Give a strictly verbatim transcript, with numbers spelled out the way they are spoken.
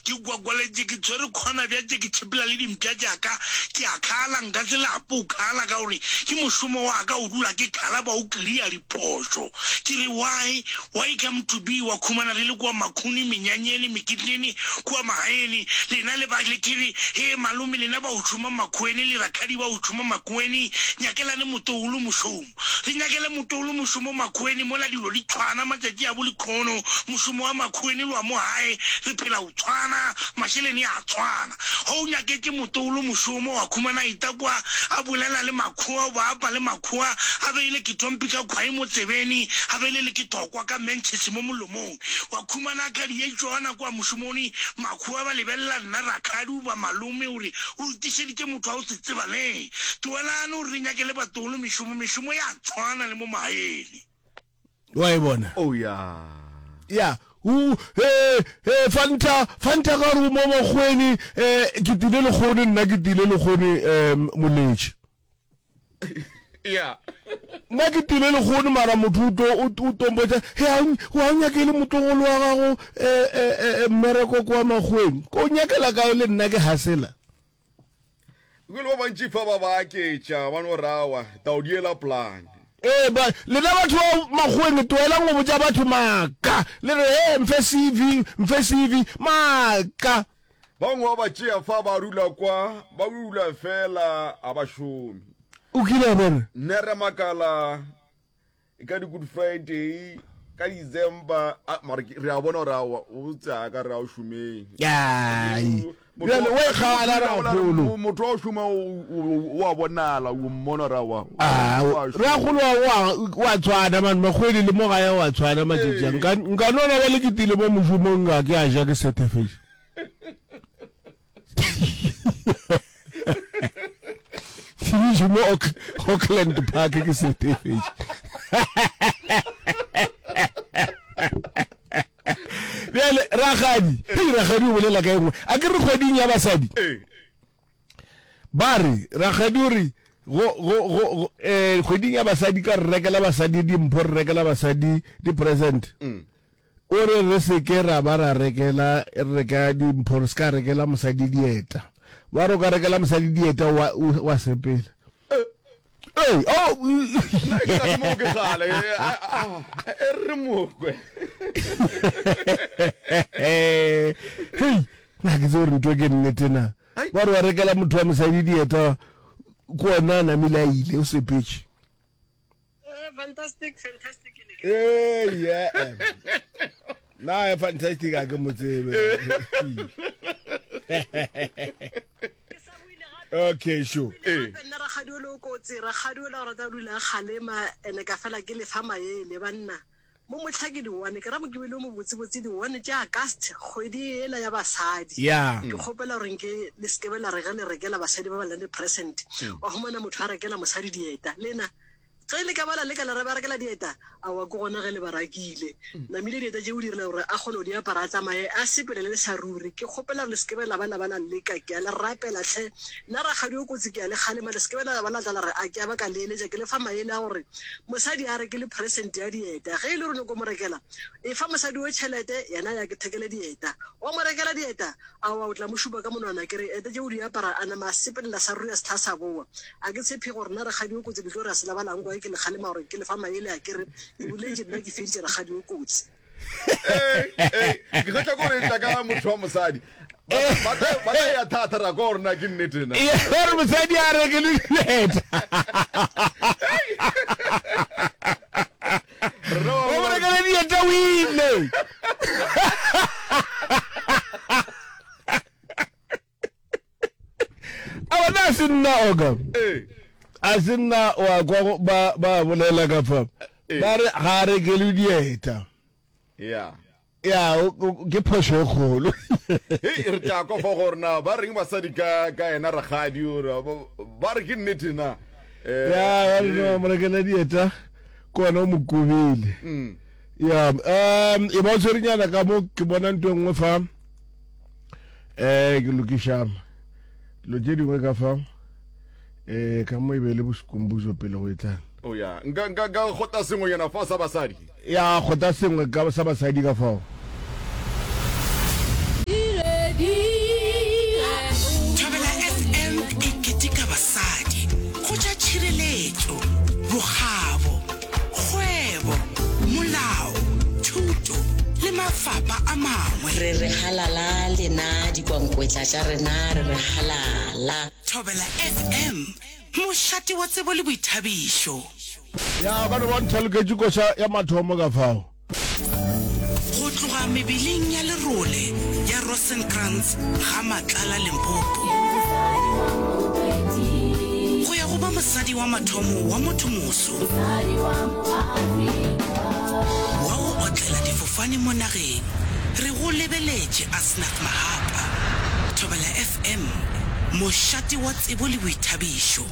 Ke gwagwaletše ke tshwere khona bjatše ke tšhepela le dimpša tša ka. Ke a khala, nka se lape go khala ka gore ke mošomo wa ka go dula ke khala ba o kria diphošo. Ke re why, why come to be wa khumana re le kua makhuni, menyanyeni, mekitleni kua magaeni, lena le ba le ke re hee malome lena ba go šoma makhueni le rakhadi ba go šoma makueni nyakelane motogolo mošomo. Re nyakele motogolo mošomo makhueni mola dilo di tshwana matšatši a bo lekhono mošomo wa makhueni le wa mo gae re phela go tshwana mašeleni a tshwana. Ge o nyaketše motogolo mošomo wa khumana a ita kwa a bolela le makhoa o ba apa le makhoa a beile ketompi ka khwai mo tsebeni a beile le ketokwa ka mentšhese mo molomong wa khumana a khadi ye tšona kwa mošomoni makhoa ba lebelela nna rakhadi o ba malome o re o re tišeditše motho wa go se tsebaleng tlogelane o re re nyakele batogolo mešomo mešomo ya tshwana le mo magaeng. Wa e bona? Oh ya. Ya. U he he fanta fanta ka gore o mo makgweni eh ke tile lekgone nna ke tile lekgone eh moletši. Ya. Nna ke tile lekgone mara motho o tlo o o tompotša he a wa o nyakele motlogolo wa gago eh eh eh mmereko kwa makgweni. Ko nyakela kae le nna ke hasela. Ebile ba bantši fa ba ba aketša, ba no re, Aowa, taodi yela polane. Ee, ba, lena batho ba Makgoweng, tlogelang go botša batho maaka. Le re, Hee, mfe C V, mfe C V. Maaka! Ba bangwe ba ba tšea fa ba dula kwa, ba dula feela, ga ba šome. O kile wa bona? Nna re makala ka di Good Friday, ka December, a, mara ke, re a bona gore aowa, o tsaya ka re a o šomeng. Ai. Motho Bjale, wa- o e kgala, Motho wa- rakgolo. Motho wa o šoma o- o o a bonala, o mmona gore aowa. Ah, o a šoma. rakgolo wa wa wa tshwana man, makgwedi le mo gae wa tshwana matšatši a. Nka nka no na bjale ke tile mo mošomong ga ke a ja ke setefetše. Ke mo Auckland Park ke setefetše. Bjale rakgadi, hei rakgadi o bolela ka e nngwe. A ke re kgweding ya basadi. Ba re rakgadi o re go go go eh kgweding ya basadi ka re rekela basadi dimpho, re rekela basadi di present. O re re se ke ra ba ra rekela re reka dimpho, re se ka rekela mosadi dieta. Ba re o ka rekela mosadi dieta wa wa sepela. Ee, oh. Nna ke sa mo ke gale. E re mokwe. Hei, na ke tse gore ntho ke nnete na. Ba re wa rekela motho wa mosadi dieta ke ona a namile a ile o sepetše. Eh, fantastic, fantastic. Eh, yeah. Na e fantastic a ke mo tsebe. Okay, sure. Eh. Nna rakgadi o le o kotsi, rakgadi o la o rata o dula a kgalema ene ka fela ke lefa maele banna. Mo mohla ke di-one, ke ra Mokibelo o mobotsebotse di-one tša August, kgwedi yela ya basadi. Yeah. Ke kgopela gore nke le se ke be la re ge le rekela basadi ba ba nang le present, wa humana motho a rekela mosadi dieta. Lena ge le ka ba la leka la re ba rekela dieta, aowa ke gona ge le ba rakile. Namile dieta tše o direla gore a kgone go di apara a tsamaye a sepele le sa ruri. Ke kgopela gore le se ke be la ba la ba la leka, ke a le rapela hle. Nna rakgadi o kotsi ke a le kgalema, le se ke be la ba la tla la re a ke a ba ka le eletša. Ke le fa maele a gore mosadi a rekele present ya dieta. Ge e le gore o nyako mo rekela, efa mosadi o tšhelete, yena a ya ke thekele dieta. Wa mo rekela dieta, aowa o tla mo šupa ka monwana ke re ete tše o di apara a nama a sepelela sa ruri a se hla sa bowa. A ke tshepe gore nna rakgadi o kotsi le tlo re a se lebala nko ge ke le kgalema gore ke le fa maele a ke re ke boletše nna ke feditše rakgadi o kotsi. Ee, ee, ke kgotla ko re tla ka motho wa mosadi. Ba ba tla ba tla ya thata ra kwa gore na ke nnete na. Ee, gore mosadi a reke le dieta. Rena ba O mo ba rekele dieta o ile. A bona a se nna oka. Ee. A se nna wa kwa go- ba ba bolela ka fa. Ee. Ba re ga a rekelwe dieta. Yeah. Ya, o- o- ke phošo e kgolo. Hei, re tla kwa fa gore na ba reng basadi ka ka yena rakgadi ore ba ba re ke nnete na. Eh, Ya, ba re no mo rekela dieta ke wena o mo kobile. Mm. Ya, um e ba o tshwerenyana ka mo ke bona ntho e nngwe fa. Eh ke lokiša dilo tše dingwe ka fa. Eh ka mo e be le boskumbuzo pele go e tlang. Oh ya, nka nka nka kgota sengwenyana fa sa basadi. Ya kgota sengwe ka sa basadi ka fao. mafapa a mangwe. Re re halala lena dikwankwetla tša rena re re halala. Thobela F M, mošate wa tsebo le boithabišo. Ya ba no ba nthaloketše koša ya mathomo ka fao. Go tloga mebeleng ya lerole ya Rosenkrantz ga Matlala Limpopo go ya go ba mosadi wa mathomo wa mothomoso wa go otlela difofane mo nageng, re go lebeletše Asnath Mahapa. Thobela F M, mošate wa tsebo le boithabišo.